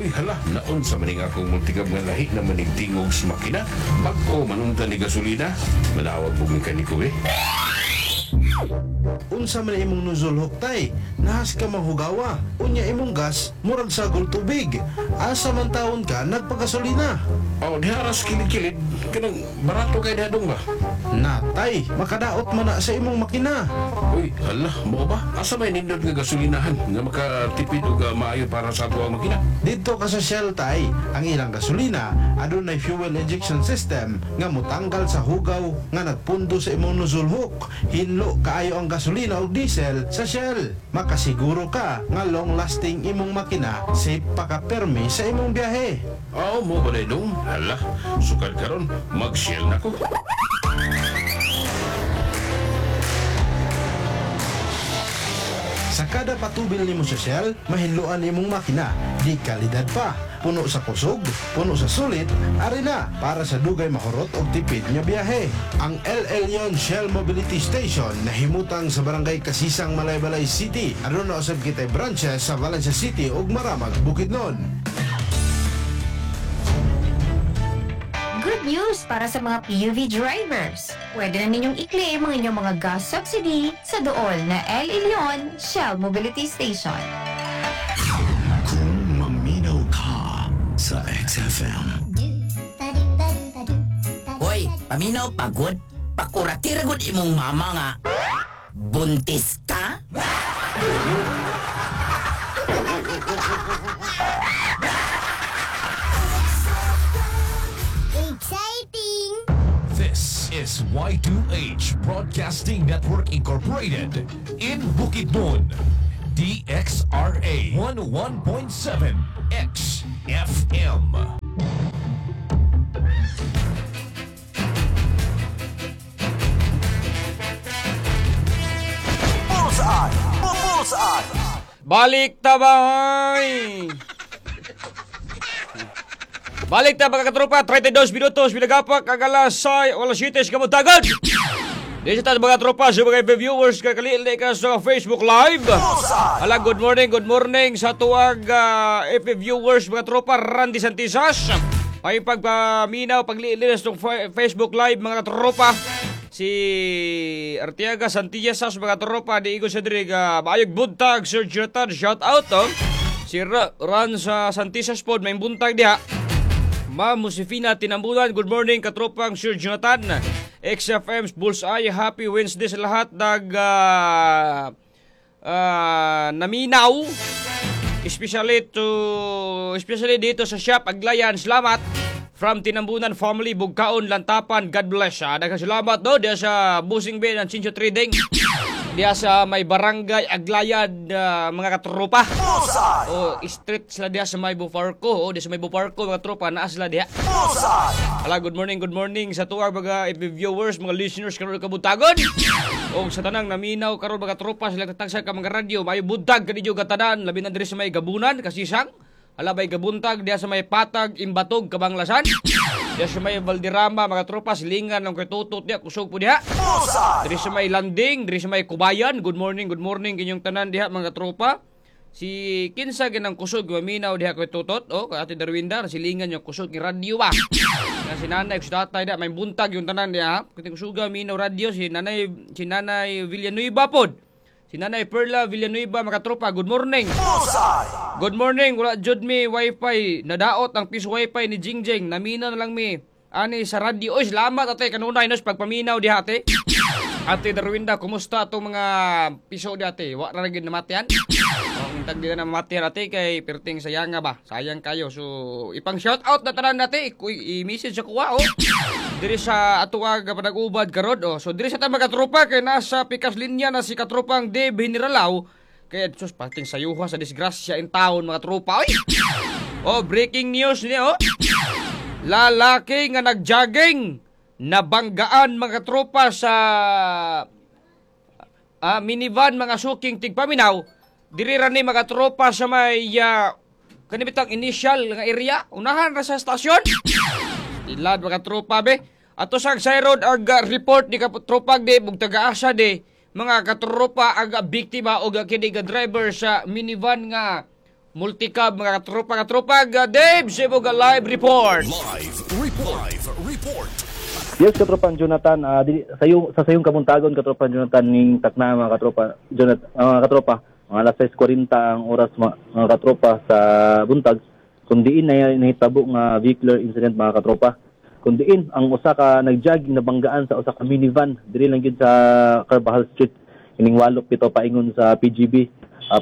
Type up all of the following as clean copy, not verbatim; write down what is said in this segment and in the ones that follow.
Uy, hala, naon sa maning akong multicab nga lahi na manigtingog sa makina? Bag-o manunta ni gasolina? Manawag po mekaniko eh. Unsa man imong nozzle hook, tay? Nahas ka mahugawa. Unya imong gas, murag sagol tubig. Asa man taon ka nagpagasolina? Oh, diha ras kilid-kilid. Kanang barato kay dadong ba? Natay, makadaot man na sa imong makina. Uy, hala, mo ba? Asa may nindot nga gasolinahan nga makatipid og maayo para sa ato ang makina? Dito ka sa Shell, tay, ang ilang gasolina adunay fuel injection system nga motanggal sa hugaw nga nagpundo sa imong nozzle hook. Hinlo kaayo ang gasolina og diesel sa Shell. Makasiguro ka nga long lasting imong makina, safe pa ka permi sa imong biyahe. Oh, mo ba na dong? Hala, sukad karon, mag-Shell na ko. Sa kada patubil nimo sa Shell, mahinloan imong makina. Di kalidad pa. Puno sa kusog, puno sa sulit, ari na para sa dugay mahurot og tipid nga biyahe. Ang El Elyon Shell Mobility Station nahimutang sa Barangay Kasisang, Malaybalay City. Aduna usab kitay branches sa Valencia City ug Maramag, Bukidnon. Good news para sa mga PUV drivers. Pwede na ninyong i-claim ang inyong mga gas subsidy sa dool na El Elyon Shell Mobility Station. Kung maminaw ka sa XFM. Hoy, paminaw pagod. Pakuratira gud imong mama nga. Buntis ka? Exciting! This is Y2H Broadcasting Network Incorporated in Bukidnon. DXRA 11.7 XFM. Bullseye! Bullseye! Balik tabay! Balik ta, mga katropa, 32 minutos, pinagapak ang alas 6, alas 7 sa kabuntagan. Di sa mga tropa, sa mga viewers, kakalili ka sa Facebook Live. Hala, good morning sa tuwag FB viewers, mga tropa, Randy Santisas. Ay pagpaminaw, paglilinis ng Facebook Live, mga tropa. Si Artiaga Santillasas, mga tropa, di Igo Cedric, maayog buntag, Sir Jonathan, shout out, oh. Si Ran sa Santisas pod, may buntag diha. Ma'am Josefina Tinambunan, good morning katropang Sir Jonathan. XFM's Bullseye, happy Wednesday sa lahat. Nag naminaw. Especially dito sa shop Aglayan. Salamat from Tinambunan family, Bugkaon, Lantapan. God bless. Daghang salamat do diya sa Busing Bay ng Chincho Trading. Diya sa may barangay Aglayan, mga katropa. O street sila diya sa may Bufarco. O diya sa may Bufarco, mga tropa, naa sila diya. Hala, good morning sa tuwag mga viewers, mga listeners karon kabuntagon. O sa tanang naminaw karon, mga tropa, sila tatagsa ka mga radyo, may buntag kanidyo katanan, labi na diri sa may Gabunan, Kasisang. Hala, may gabuntag diya sa may Patag, Imbatog, Kabanglasan. Diya sa may Valderrama, mga tropa, silingan ng katutot diya, kusog po diha. Diri sa may Landing, diri sa may Kubayan, good morning kinyong tanan diha, mga tropa. Si kinsa ginang kusog maminaw diha kay tutot, oh, kay Ate Darwinda, silingan yung kusog ni radyo ba. Nga si nanay si tatay diha, may buntag yung tanan diha. Kung kusuga minaw radyo si nanay Villanueva pod. Si Nanay Perla Villanueva, mga tropa, good morning. Good morning, wala jud mi wifi, nadaot ang piso wifi ni Jingjing, naminaw na lang mi ani sa radyo. Oy, salamat ate kanunay nos pagpaminaw diha, ate. Ate Darwinda, kumusta atong mga piso di, ate? Wa ra gyud namatian? Oh, intag di na namatian, ate, kay perting sayang nga ba? Sayang kayo. So, ipang shout out na tanan ate, i-message sa kuha oh. Diri sa atuwag panag-ubad karon oh. So diri sa ta, mga tropa, kay nasa pikas linya na si katropang Dave Generalaw. Kay sus, pating sayuha sa disgrasya in town, mga tropa. Oy. Oh, breaking news niya oh. Lalaki nga nagjogging nabanggaan, mga tropa, sa minivan, mga suking tigpaminaw. Diri ra ni, mga tropa, sa may kanibitang initial nga area, unahan ra sa stasyon. Ilad, mga tropa be. Ato sa Sayrod ag report ni katropag de bug taga-asa de mga katropa ang biktima og kini ga driver sa minivan nga Multicab, mga katropa, katropa. Dave, sa live report. Live report. Live report. Yes, katropan Jonathan, sa sayong kabuntagon, katropan Jonathan, ning takna, mga katropa Jonathan, mga katropa, mga alas 6:40 ang oras, mga katropa, sa buntag, kung diin na nahitabo nga vehicular incident, mga katropa, kung diin ang usa ka nagjogging nabanggaan sa usa ka minivan diri lang gyud sa Carbajal Street, ining Walop pito, paingon sa PGB,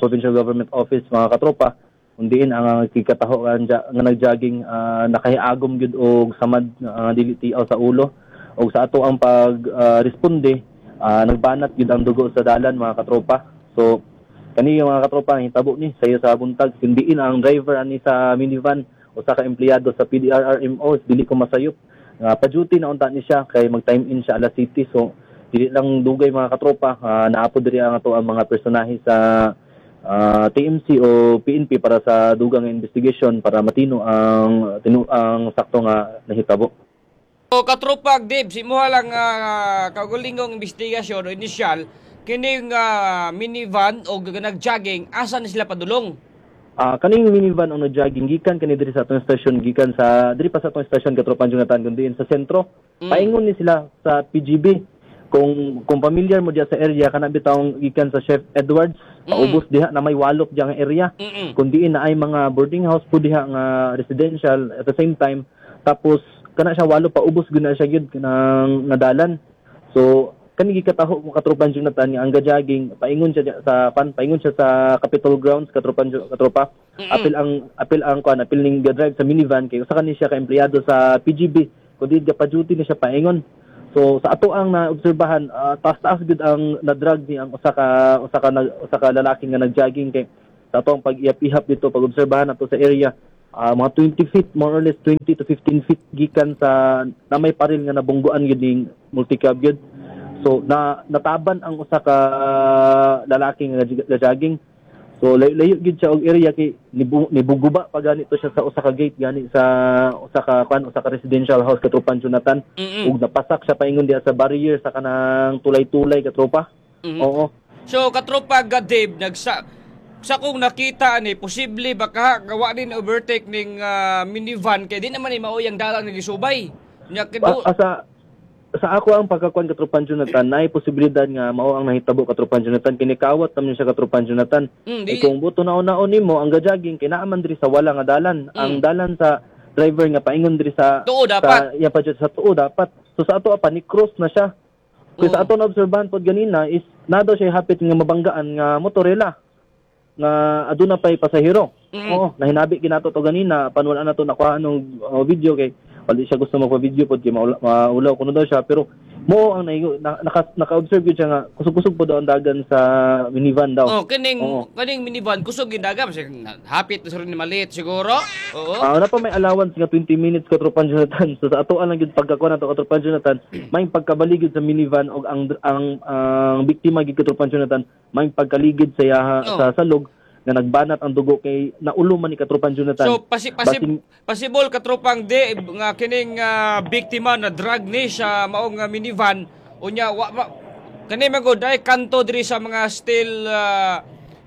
Provincial Government Office, mga katropa, kung diin ang kikataho nga nga nagjogging nakahiagom gyud og samad dili tiaw sa ulo, og sa ato ang pag responde, nagbanat gyud ang dugo sa dalan, mga katropa. So kani, mga katropa, hitabo ni sayo sa buntag, kun diin ang driver ani sa minivan usa ka empleyado sa PDRRMO, dili ko masayop nga pa-duty na unta ni siya kay mag time in siya alas city. So dili lang dugay, mga katropa, naapod diri ang ato ang mga personahe sa TMC o PNP para sa dugang investigation para matino ang sakto nga nahitabo. So, katropag Dave, simuha lang kaugulingong investigasyon o initial, kining minivan o nag-jogging, asa na sila padulong? Kaning minivan ang nag-jogging gikan kani diri sa atong station, gikan sa diri pa sa atong station, katropan Jonathan, kundi sa sentro. Paingon ni sila sa PGB. Kung familiar mo diya sa area, kana bitawng gikan sa Chef Edwards, paubos diha na may walop diya nga area. Kung diin na ay mga boarding house po diha nga residential at the same time, tapos kana siya walop paubos gud na siya gyud kanang nadalan. So kani gikataho mo, katropan Jonathan, nga ang gajogging paingon siya diya sa pan paingon siya sa Capitol grounds, katropan katropa. Apil ang kuan, apil ning ga-drive sa minivan kay usa kani siya ka empleyado sa PGB, kundi ga pa duty ni siya paingon. So sa ato ang naobserbahan, taas-taas gud ang na-drag ni ang usa ka lalaki nga nagjogging, kay sa ato ang pag-ihap-ihap dito, pag-obserbahan nato sa area, mga 20 feet, more or less 20 to 15 feet gikan sa na may paril nga nabungguan gyud ning multicab gyud. So na nataban ang usa ka lalaki nga jogging. So layo gyud siya og area kay nibuguba pa ganito siya sa usa ka gate gani sa usa ka kwan, usa ka residential house, katropan Jonathan. Ug napasak siya paingon diha sa barrier sa kanang tulay-tulay, katropa. Oo. So katropa Dave, nagsa sa kung nakita ni posible baka gawa din overtake ning minivan kay di naman ni maoy ang dalan nga gisubay. Nya Sa ako ang pagkakuan, katropan Jonathan, naay posibilidad nga mao ang nahitabo, katropan Jonathan. Kinikawat naman siya, katropan Jonathan. Eh, kung buto naon-naon nimo ang gajogging kay naa man diri sa wala nga dalan. Ang dalan sa driver nga paingon diri sa Tuo dapat. Sa iya pa jud sa tuo dapat. So sa ato pa ni cross na siya. Kaya sa ato na obserbahan pod ganina is na daw siya hapit nga mabanggaan nga motorela nga aduna pay pasahero. Oo, nahinabi ginato to ganina pan wala na to nakuha ng video kay wala siya gusto magpa-video pod kay maulaw kuno daw siya, pero mo ang naka-observe gyud siya nga kusog-kusog po daw ang dagan sa minivan daw. Oh, kining kaning minivan kusog gindaga kasi hapit na sa rin ni maliit siguro. Oo. Ah, wala pa may allowance nga 20 minutes, katropan Jonathan. So sa ato lang gyud pagkakuha nato, katropan Jonathan, may pagkabaligid sa minivan og ang biktima gyud, katropan Jonathan, may pagkaligid sa yaha sa salog nga nagbanat ang dugo kay naulo man ni katropan Jonathan. So possible, katropang de nga kining biktima na drag ni sa maong minivan, unya wa ma, kani magod ay kanto diri sa mga steel,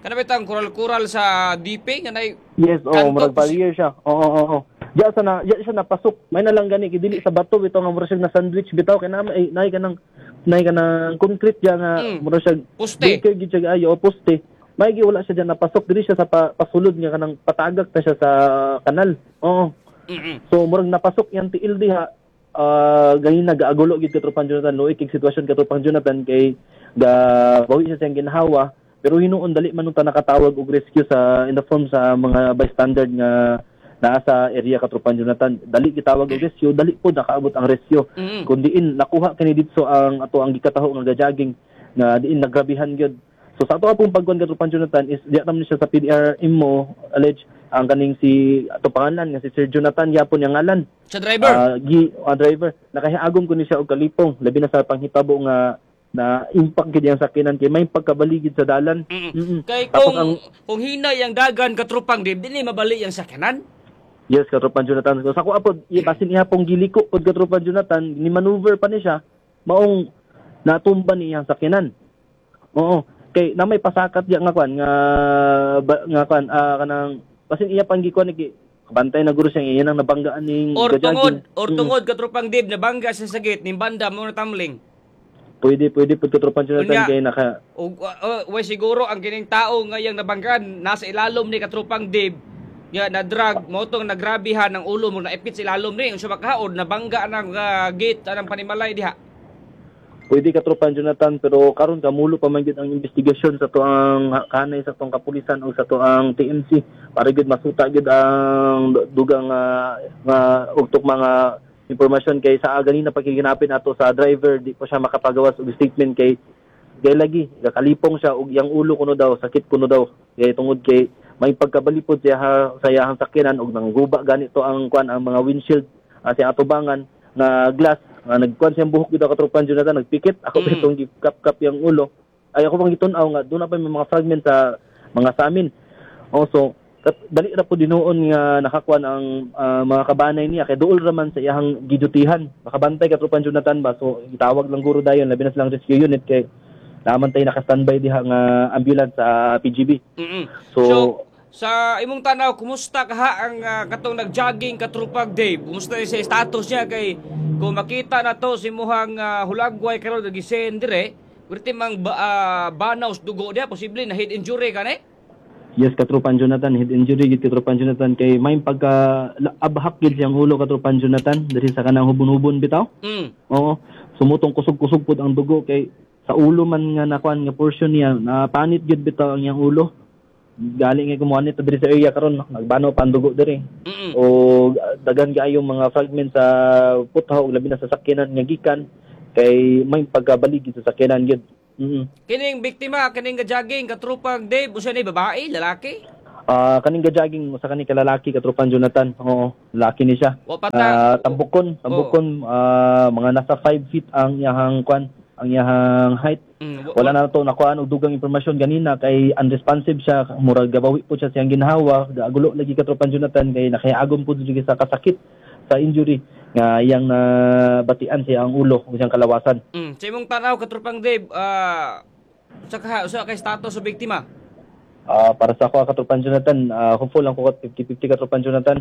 kana bitang kural-kural sa DP nga nay Yes, oh, kanto, murag barrier siya. Oo. Diya siya napasok. May na lang gani kay dili sa bato bitaw nga mura siya na sandwich bitaw kay na ay nay kanang concrete diya nga mura siya Poste. Baker gid siya ayo o poste. May gi wala siya diyan napasok, diri siya sa pasulod nga kanang patagak na siya sa kanal. Oo. So murag napasok yang tiil diha. Ganin nagaagulo gid, katropan Jonathan, luoy kay sitwasyon, katropan Jonathan, kay ga bawi siya sa iyang ginhawa, pero hinuon dali man ta nakatawag og rescue sa in the form sa mga bystander nga naa sa area, katropan Jonathan. Dali gitawag og rescue, dali po nakaabot ang rescue. Kun diin nakuha kini didto ang ato ang gikataho nga gajogging nga diin nagrabihan gyud. So sa ato apong pagkuan, katropan Jonathan, is diya naman siya sa PDR mo allege ang kaning si ato pangalan nga si Sir Jonathan yapon yang ngalan. Sa driver. Gi driver, nakahiagom ko ni siya og kalipong, labi na sa panghitabo nga na impact gid yang sakyanan kay may pagkabaligid sa dalan. Kay Tapos kung kung hinay ang dagan, katropang Dave, dili mabali ang sakyanan. Yes, katropan Jonathan. So, sa ako apod, basin iha pong giliko pod, katropan Jonathan, ni maneuver pa ni siya, maong natumba ni iyang sakyanan. Oo. Kay na may pasakat diya nga kwan nga ba, nga kwan kanang Basin iya pang gikuan ni bantay na guro siya iya nang nabanggaan ning Or gajogging. tungod, or tungod katropang Dave nabangga siya sa gate ning banda mo na tumbling. Pwede pwede pud, katropang Jonathan, Unya. kay naka Og way siguro ang kining tao ngayang nabanggaan nasa ilalom ni katropang Dave nga na drug mo tong nagrabihan ang ulo mo naipit sa ilalom ni unsa makaod nabangga ang gate anang panimalay diha. Pwede, katropang Jonathan, pero karon kamulo pa man gyud ang investigasyon sa tuang kanay sa tuang kapulisan o sa tuang TMC para gyud masuta gyud ang dugang nga og mga impormasyon kay sa ganina pakiginapin ato sa driver, di pa siya makapagawas og statement kay kay lagi gakalipong siya og iyang ulo kuno daw sakit kuno daw kay tungod kay may pagkabalipod siya sa iyang sakyanan og nangguba ganito ang kuan, ang mga windshield sa atubangan na glass nga nagkuan siyang buhok gyud, katropan Jonathan, nagpikit ako mm. Itong gikap-kap yung ulo ay ako pang gitun-aw nga doon na pa may mga fragment sa mga samin. Also dali ra po dinuon nga nakakuan ang mga kabanay niya kay duol ra man sa iyang gidutihan makabantay, katropan Jonathan ba. So gitawag lang guro dayon labi na silang rescue unit kay naman tay naka-standby diha nga ambulance sa PGB. So, So, sa imong tanaw, kumusta kaha ang katong nag-jogging, katrupag Dave? Kumusta sa status niya kay kung makita na to si muhang hulagway karon nagisend dire, perti mang banaw sa dugo diha, posible na head injury ka ni? Yes, katropan Jonathan, head injury gid, katropan Jonathan, kay may pagka abhak gid siyang ulo, katropan Jonathan, diri sa kanang hubon-hubon bitaw. Oo, sumutong kusog-kusog pud ang dugo kay sa ulo man nga nakuan nga portion niya, na panit gid bitaw ang iyang ulo. Gali nga kumuha nito diri sa area karon, no? Nagbano pa ang dugo diri. O daghan kaayo mga fragment sa puthaw ug labi na sa sakyanan nga gikan kay may pagkabalig sa sakyanan gid. Kining biktima, kining ga-jogging, katrupag Dave, usa ni babae, lalaki? Ah, kaning ga-jogging sa kaning kalalaki, katropan Jonathan. Oo, lalaki ni siya. Wa pa ta Ah, tambukon, tambukon, mga nasa 5 feet ang iyahang kwan, ang iyahang height. Wala na to nakuhaan og dugang impormasyon ganina kay unresponsive siya, murag gabawi po siya siyang ginhawa, gagulo lagi, katropan Jonathan, kay nakaagom po jud sa kasakit sa injury nga iyang nabatian siya ang ulo ug siyang kalawasan. Sa imong tanaw, katrupang Dave, sa kaha, usa kay status sa biktima? Ah, para sa ako, katropan Jonathan, hopeful lang ko 50-50, katropan Jonathan.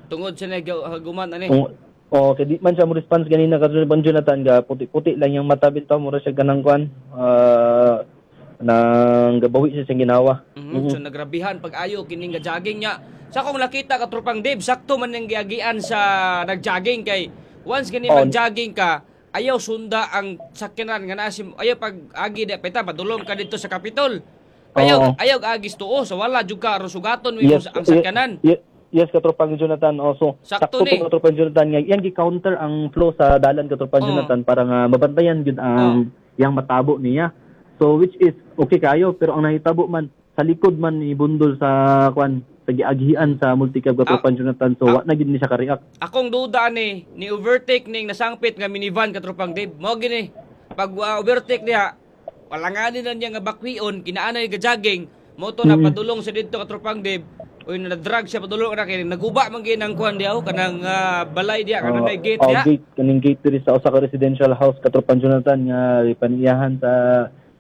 Tungod sa nagaguman ani. Kung oh, kay di man siya mo response ganina, katropan Jonathan, ga puti-puti lang yung mata bitaw, mura siya ganang kwan. Nang gabawi siya siyang ginawa. So nagrabihan pag-ayo kining ga jogging niya. Sa akong nakita, katrupang Dave, sakto man nang giagian sa nag-jogging kay once gani mag-jogging ka, ayaw sunda ang sakyanan nga naa si ayaw pag agi di peta padulong ka dito sa Capitol. Ayaw ayaw agis tuo so wala jud ka aron sugaton mo ang sakyanan. Yes, katropang Jonathan. Also, Sakto sakto ni. to, katropang Jonathan nga yang gi-counter ang flow sa dalan, katropang Jonathan, para nga mabantayan gyud ang yang matabo niya. So which is okay kayo, pero ang nahitabo man sa likod man ni bundol sa kwan sa giaghian sa multicab, katropang Jonathan. So wa na gyud ni siya ka-react. Akong duda ni ni overtake ning nasangpit nga minivan, katropang Dave. Mo gini pag overtake niya wala nga ni na niya nga bakwion kinaanay ga jogging mo to napadulong sa didto, katropang Dave. Uy, na drag siya padulong na kay naguba man gyud ang kuan diha oh, kanang balay diha kanang may gate Oh, diha. gate, kaning gate diri sa usa ka residential house, katropang Jonathan, nga paniyahan sa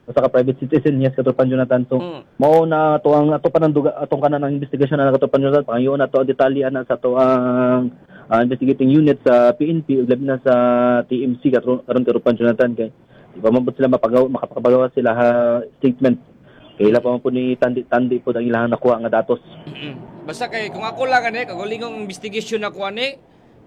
usa ka private citizen. Yes, katropang Jonathan. So mao na to ang ato pa ng duga atong kanan ang investigasyon na, katropang Jonathan. Pangayoon nato ang detalye ana sa ato ang investigating unit sa PNP ug labi na sa TMC karon karon, katropang Jonathan, kay di pa man pud sila mapagaw makapagawa sila ha statement kay ila pa man pud ni tandi-tandi pud ang ilang nakuha nga datos. Basta kay kung ako lang ani kagulingong investigation ako ani,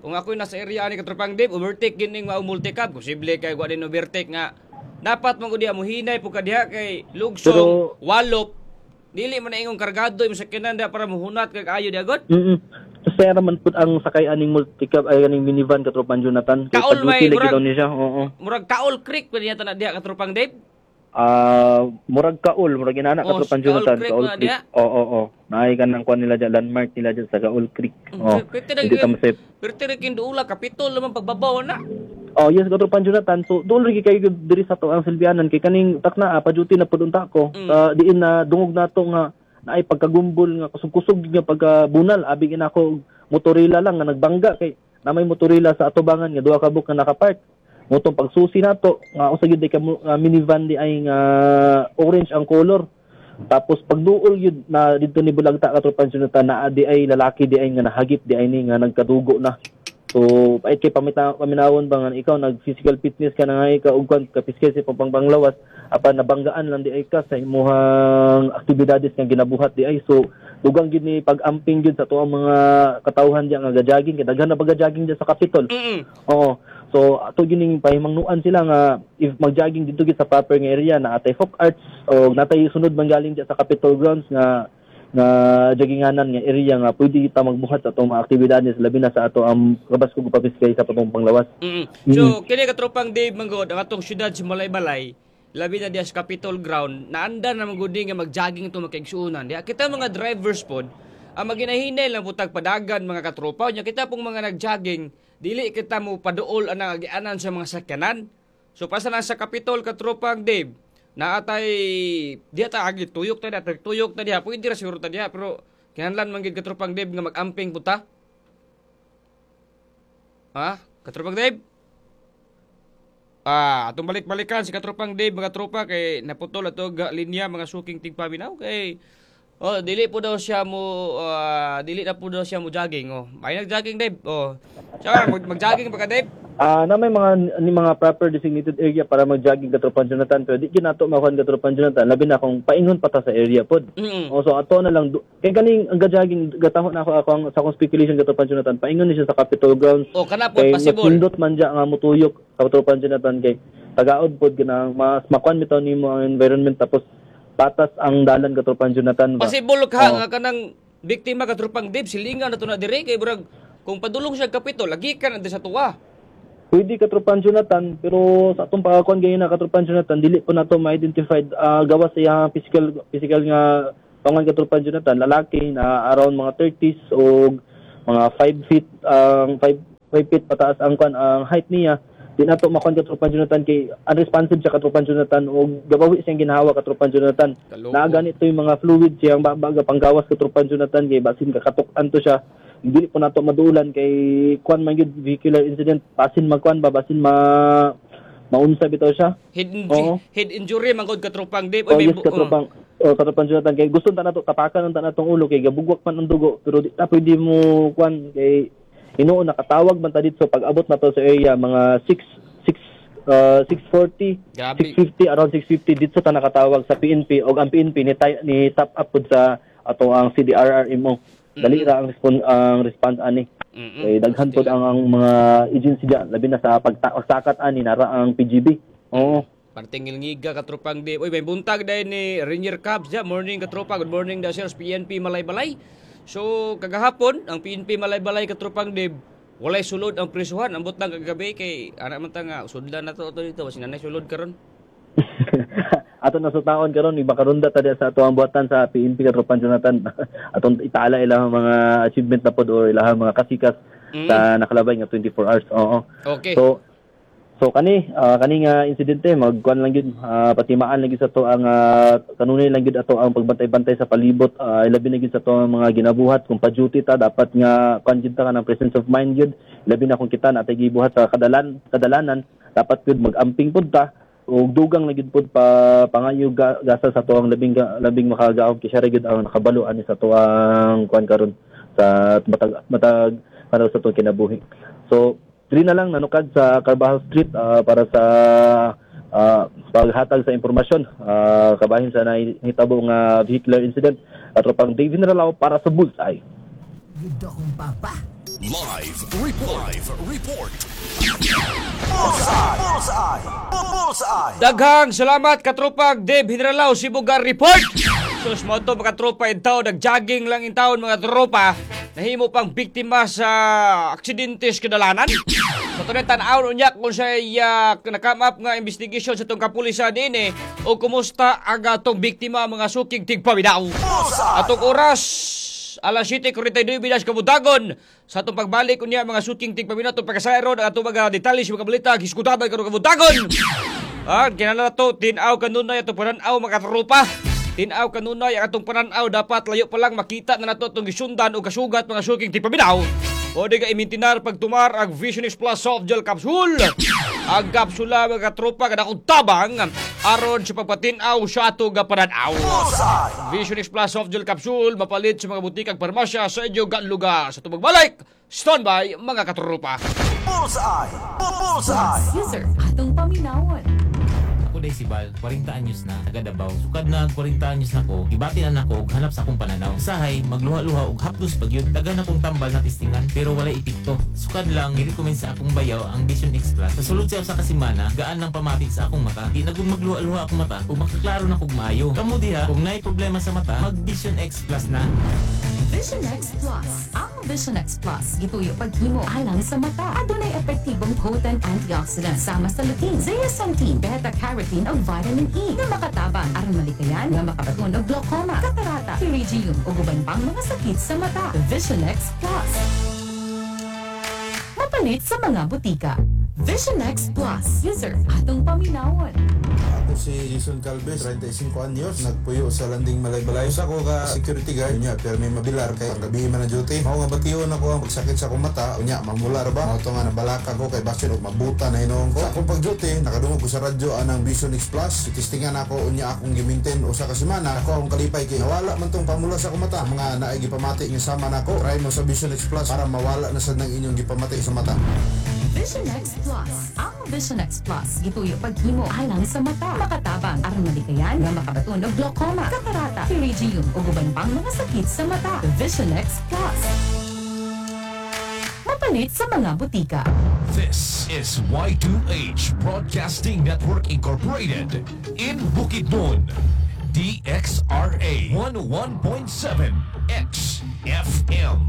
kung ako nasa area ani, katropang Dave, overtake gining mao multicab, posible kay wa din overtake nga dapat man gud diha mohinay pud ka diha kay lugsong walop dili man na ingong kargado imong sakyanan diha para mohunat kag ayo diha god. Sera man pud ang sakay aning multicab ay aning minivan, katropang Jonathan. Kay Kaol may pag-duty lagi murag daw ni siya. Oo. Murag Kaol Creek pa niya na diha, katropang Dave. Ah, murag Kaol, murag inana, Oh, katropang Kaol Jonathan, Creek Kaol na Creek. diha. Oo. Naay ka ng kuan nila dyan, landmark nila dyan sa Kaol Creek. Oh, Pwede na hindi ta masip. Pero kin duula Kapitol naman pagbabaw na. Oh, yes, katropang Jonathan. So, doon rin kayo diri sa to ang silbianan kay kaning takna pa-duty na pud unta ko. Diin na dungog nato nga naay pagkagumbol nga kusog-kusog nga pagkabunal abi gina ako motorila lang nga nagbangga kay na may motorila sa atubangan nga duha ka buok nga nakapark. Motong pagsusi nato nga usa gyud ka minivan di ay nga orange ang color. Tapos pagduol yun na dito ni Bulagta, katropang Jonathan, na di ay lalaki di ay nga nahagip di ay ni nga nagkadugo na. So ay kay pamita paminawon ba nga ikaw nag physical fitness ka na nga ikaw ug kwan kapiskay sa pangpanglawas apan nabanggaan lang di ay ka sa imuhang aktibidades nga ginabuhat di ay. So dugang gid ni pag-amping gid sa tuang mga katawhan diya nga gajogging kay daghan na ba gajogging diya sa Capitol. Oo. So ato gining pahimangnuan sila nga if magjogging didto gid sa proper nga area na atay folk arts o natay sunod man galing diya sa Capitol grounds nga nga jogginganan nga area nga pwede kita magbuhat sa atong mga aktibidades labi na sa ato ang kabaskog papiskay sa patong panglawas. So kini katropang Dave manggod ang atong syudad sa Malaybalay labi na diya sa Capitol ground naanda na manggod nga magjogging ito magkaigsuonan. Diya kita mga drivers pod ang maginahinay lang putag padagan mga katropa nya kita pong mga nagjogging dili kita mo paduol ang agianan sa mga sakyanan. So pasa na sa Capitol katropang Dave naatay diha ta agi tuyok ta diha, tuyok ta diha, pwede ra siguro ta diha pero kinahanglan man gid katropang Dave nga mag-amping puta. Ha? Katropang Dave? Atong balik-balikan si katropang Dave mga tropa kay naputol ato linya mga suking tigpaminaw kay oh dili po daw siya mo dili na po daw siya mo jogging oh. May nag-jogging Dave. Oh. Siya mag-jogging pa ka Dave? Na may mga ni mga proper designated area para mag-jogging katropang Jonathan pero di gyud nato makuan katropang Jonathan labi na kung paingon pa ta sa area pod. Oh, so ato na lang kay kaning ang ga-jogging gataho na ako ang sa akong speculation katropang Jonathan paingon ni siya sa Capitol grounds. Oh, kana pod possible. Nindot man diya nga motuyok katropang Jonathan kay tagaod pod kanang mas makuan bitaw nimo ang environment tapos patas ang dalan katropang Jonathan ba. Possible ka nga kanang biktima katropang Dave silingan na to na dire kay burag kung padulong siya Capitol lagi ka na sa tuwa. Pwede katropang Jonathan pero sa atong pagkakuan gayon na katropang Jonathan dili po nato ma-identified gawas sa iyang physical nga pangan katropang Jonathan lalaki na around mga 30s o mga 5 feet ang 5 feet pataas ang kuan ang height niya. Di nato makuan katropang Jonathan kay unresponsive siya katropang Jonathan o gabawi siyang ginhawa katropang Jonathan. Naa ganito yung mga fluid siyang baga panggawas katropang Jonathan kay basin kakatok-an to siya. Dili po nato maduulan kay kuan man gyud vehicular incident basin magkuan ba basin maunsa bitaw siya. Head injury man gud katropang Dave. Oh, yes, katropang katropang Jonathan kay gusto ta nato tapakan ta natong ulo kay gabugwak man ang dugo pero di ta pwede mo kuan kay hinuon nakatawag man ta didto pag abot na to sa area mga 6:40, 6:50 around 6:50 didto ta nakatawag sa PNP og ang PNP ni top up pud sa ato ang CDRRMO. Dali ra ang response ani. Kay daghan pod ang mga agency diya labi na sa pagsakat ani nara ang PGB. Oo. Parting ngilngiga katropang Dave. Oy may buntag dahil ni Rainier Cubs diya. Morning katropa. Good morning da sir PNP Malaybalay. So kagahapon ang PNP Malaybalay katropang Dave walay sulod ang prisuhan. Ambot lang kagabi kay ana man ta nga sudlan na to dito basin nanay sulod karon. Ato na sa taon karon ibakarunda ta diya sa ato ang buhatan sa PNP katropang Jonathan. Atong itala ilang mga achievement na pod or ilang mga kasikas sa nakalabay nga 24 hours. Oo. Okay. So kani kani nga insidente magkuan lang gyud patimaan lang gyud sa to ang kanunay lang gyud ato ang pagbantay-bantay sa palibot labi na gyud sa to ang mga ginabuhat kung pa-duty ta dapat nga kuan gyud ta kanang presence of mind gyud labi na kung kita natay gibuhat sa kadalanan dapat gyud mag-amping pud ta og dugang na gyud pud pa pangayo gasa sa tuang labing makagaom kay siya ra gyud ang nakabalo ani sa tuang kuan karon sa matag para sa tuang kinabuhi. So diri na lang nanukad sa Carbajal Street para sa paghatag sa impormasyon kabahin sa nahitabo nga vehicular incident katropang David Naralao para sa Bullseye. Gud akong papa. Live report. Live report. Bullseye. Bullseye. Bullseye. Daghang salamat katropang Dave Hinralao Sibugar Report. So mo to mga tropa in town, nagjogging lang in town mga tropa, nahimo pang biktima sa aksidente sa kadalanan. So tunay tan-aw unya kung sa nakam up nga investigation sa tong kapulisan dinhi o kumusta ang atong biktima mga suking tigpaminaw. Atong oras alas 7:49 kabudagon sa atong pagbalik unya mga suking tigpaminaw atong pagkasayron ang atong mga detalye sa mga balita hisgutabay karon kabudagon. Kinahanglan to tin-aw kanunay atong panan-aw mga tropa. Tin-aw kanunay ang atong panan-aw dapat layo pa lang makita na nato atong gisundan o kasugat mga suking tigpaminaw. O di ka imintinar pagtumar ang Vision X Plus Soft Gel Capsule. Ang kapsula, mga katropa, kada akong tabang aron sa pagpatinaw sa ato nga pananaw. Vision X Plus Soft Gel Capsule, mapalit sa mga butikag parmasya sa inyong lugar. Sa tumagbalik, standby, mga katropa. Bullseye! Bullseye! User, atong paminawon. Ako day si Bal, 40 anyos na, taga Davao. Sukad na 40 anyos na ko, gibati na nako og hanap sa akong pananaw. Usahay, magluha-luha og hapdos pagyud. Daghan akong tambal na testingan pero walay epekto. Sukad lang girecommend sa akong bayaw ang Vision X Plus. Sa sulod siya sa kasimana, gaan ng pamati sa akong mata. Di na gud magluha-luha akong mata ug makaklaro na kog maayo. Kamo diha, kung naay problema sa mata, mag Vision X Plus na. Vision X Plus. Ang Vision X Plus, gituyo paghimo alang sa mata. Adunay epektibong potent antioxidant sama sa lutein, zeaxanthin, beta-carotene ug vitamin E nga makatabang aron malikayan nga makabaton og glaucoma, katarata, pterygium ug uban pang mga sakit sa mata. Vision X Plus. Mapalit sa mga butika. Vision X Plus. User, atong paminawon. Ako si Jason Calves, 35 anyos, nagpuyo sa Landing Malaybalay. Usa ko ka security guard, unya pero may mabilar kay ang gabi man ang duty. Mao nga bation ako ang pagsakit sa akong mata, unya mamula ra ba. Mao to nga nabalaka ko kay basin og mabuta na hinuon ko. Sa akong pag-duty, nakadungog ko sa radyo anang Vision X Plus. Itistingan ako, unya akong giminten usa ka semana. Ako akong kalipay kay nawala man tong pamula sa akong mata. Mga naay gipamati nga sama nako, try mo sa Vision X Plus para mawala na sad ng inyong gipamati sa mata. Vision X Plus. Ang Vision X Plus, gituyo paghimo alang sa mata. Makatabang aron malikayan nga makabaton og glaucoma, katarata, pterygium ug uban pang mga sakit sa mata. Vision X Plus. Mapalit sa mga butika. This is Y2H Broadcasting Network Incorporated in Bukidnon. DXRA 101.7 XFM.